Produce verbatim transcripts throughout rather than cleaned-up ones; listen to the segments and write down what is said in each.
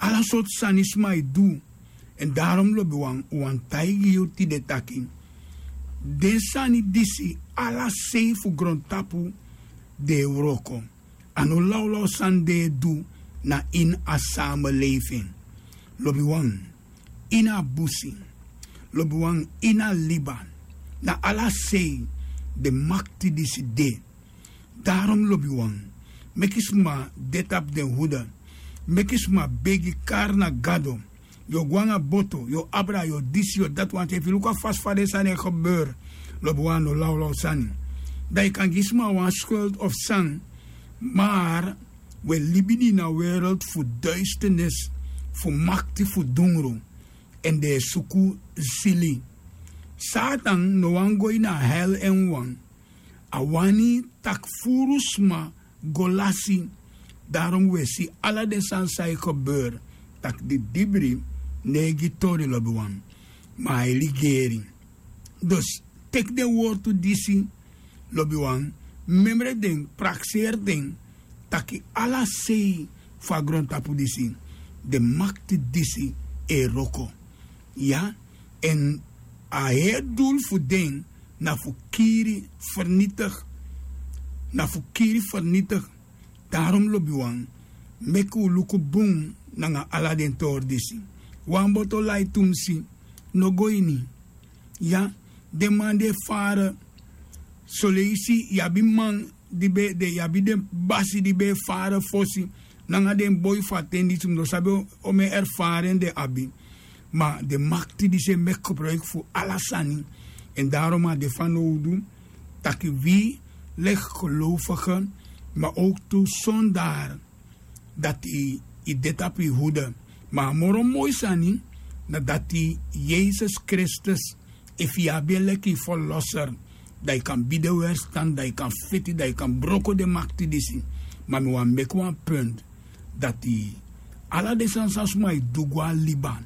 Ala sortu sani sma e du. Èn darom lobiwan, un wani taigi yu tide taki den sani disi, ala sei fu grontapu, den e wroko. A no lawlaw sani den e du na ini a samelefin. Lobiwan, ini a busi, lobiwan, ini a liba, na ala sei den makti disi de. Darom lobiwan, meki sma de tapu den huda. Meki sma begi, kari na Gado. Yu o go nanga boto, yu o abra, yu o disi, yu o dati, wanten efu yu luku a fasi fa den sani e gebeur, lobiwan, a no lawlaw sani. Dan yu kan gi sma wan skultu of san. Mar wi e libi ini a wereldu fu duisternis, fu makti fu dungru, èn den e suku sili. Satan no wani go ini a hel en wawan. A wani tak' furu sma go lasi. Darom wi e si ala den sani san e gebeur, tak' didibri no e gi tori, lobiwan, ma a e ligeri. Dus teki den wortu disi, lobiwan, memre den, prakseri den, taki ala sei fu a grontapu disi, den makti disi e wroko. Ya, èn a heri dulu fu den na fu kiri, fernitigi. Na fu kiri, fernitigi. Darom lobiwan, meki un luku bun nanga ala den tori disi. Wan boto lai tumsi no go ini. Ya, den man di e fara. Soleisi yu abi man di ben de, yu abi den basi di ben e fara fosi, nanga den boi fu a ten disi, mi no sabi omeni erfaren den abi. Ma den makti disi e meki gebruiki fu ala sani. Èn darom a de fanowdu taki wi leki gelofigen, ma owktu sondar dati yu de tapu yu huda. Ma a moro moi sani na dati Yesus Kristus, efu yu abi en leki yu verlosser, dan yu kan bidi en werstan, dan yu kan feti, dan yu kan broko den makti disi. Ma mi wani meki wan punt dati ala den sani san sma e du go a liba,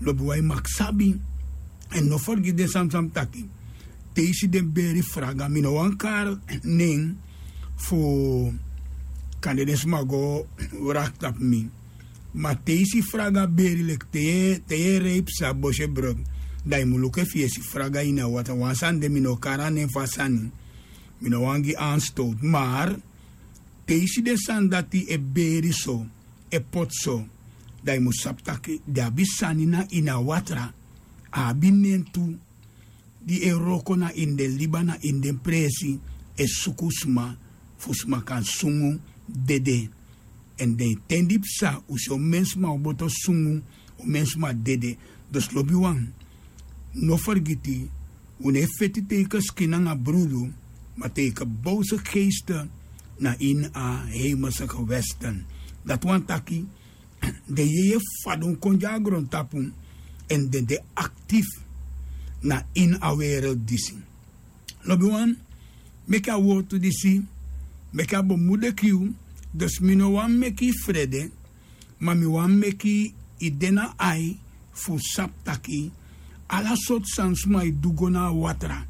lobiwan, yu mag sabi. Èn no fergiti den sani san mi taki. Te yu si den beri fraga, mi no wani kari nen fu kande den sma go wraki tapu mi. Ma te yu si fraga beri leki te yu e, te yu e rei psa, bosi e brok, dan yu mu luku efu yu e si fraga ini a watra. Wan sani de, mi no o kari a nen fu a sani. Mi no wani gi anstowtu. Mar te yu si den sani dati e beri so, e poti so, dan yu mu sabi taki den abi sani na ini a watra. A abi nen tu di e wroko na ini den liba, na ini den presi, e suku sma fu sma kan sungu dede. Èn den ten di psa, un si omeni sma o boto sungu, omeni sma dede. Dus lobiwan, no fergiti, un no e feti tegen skin nanga brudu, ma tegen boze geesten na ini a hemelse gewesten. Dati wani taki den yeye fadon kon de a grontapu, èn den de aktifu na ini a wereldu disi. Lobiwan, meki a wortu disi, meki a bemudeki yu. Dus mi no wani meki yu frede, ma mi wani meki yu de na ai fu sabi taki ala sortu sani sma e du go na a watra,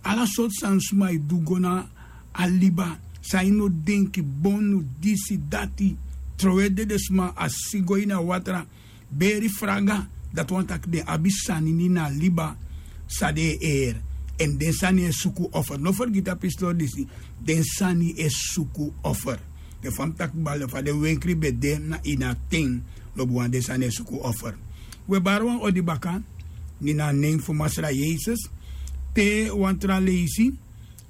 ala sortu sani sma e du go na a liba, san yu no denki, bonu, disi, dati, trowe dede sma, a si go ini a watra, beri fraga, dati wani taki den abi sani ini a liba san den e eri. Èn den sani e suku offer. No fergiti a pistori disi, den sani e suku offer. Den fa mi taki baka, fa den wenkri ben de na ini a ten, lobiwan, den sani e suku offer. Wi e bari wan odi baka, ini a nen fu Masra Yesus, te wan tra leisi,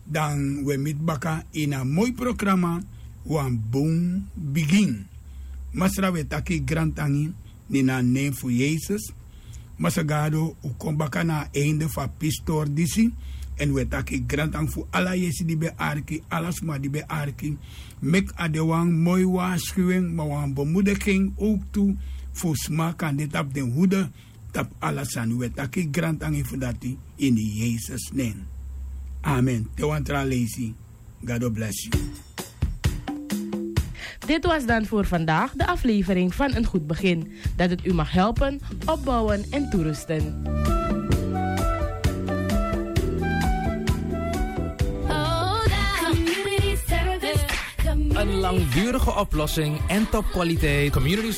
dan wi e miti baka ini a moi programa, Wan Bun Bigin. Masra, wi e taki grantangi, ini a nen fu Yesus. Masra Gado, un kon baka na a einde fu a pistori disi. Èn wi e taki grantangi fu ala yesi di ben arki, ala sma di ben arki. Meki a de wan moi waarschuwing, ma wan bemoediging ook tu fu sma kan de tapu den hude, tapu ala sani. Wi e taki grantangi fu dati ini Yesus nen. Amen. Te wan tra leisi. God bless you. Dit was dan voor vandaag de aflevering van Een Goed Begin. Dat het u mag helpen, opbouwen en toerusten. Een langdurige oplossing en topkwaliteit community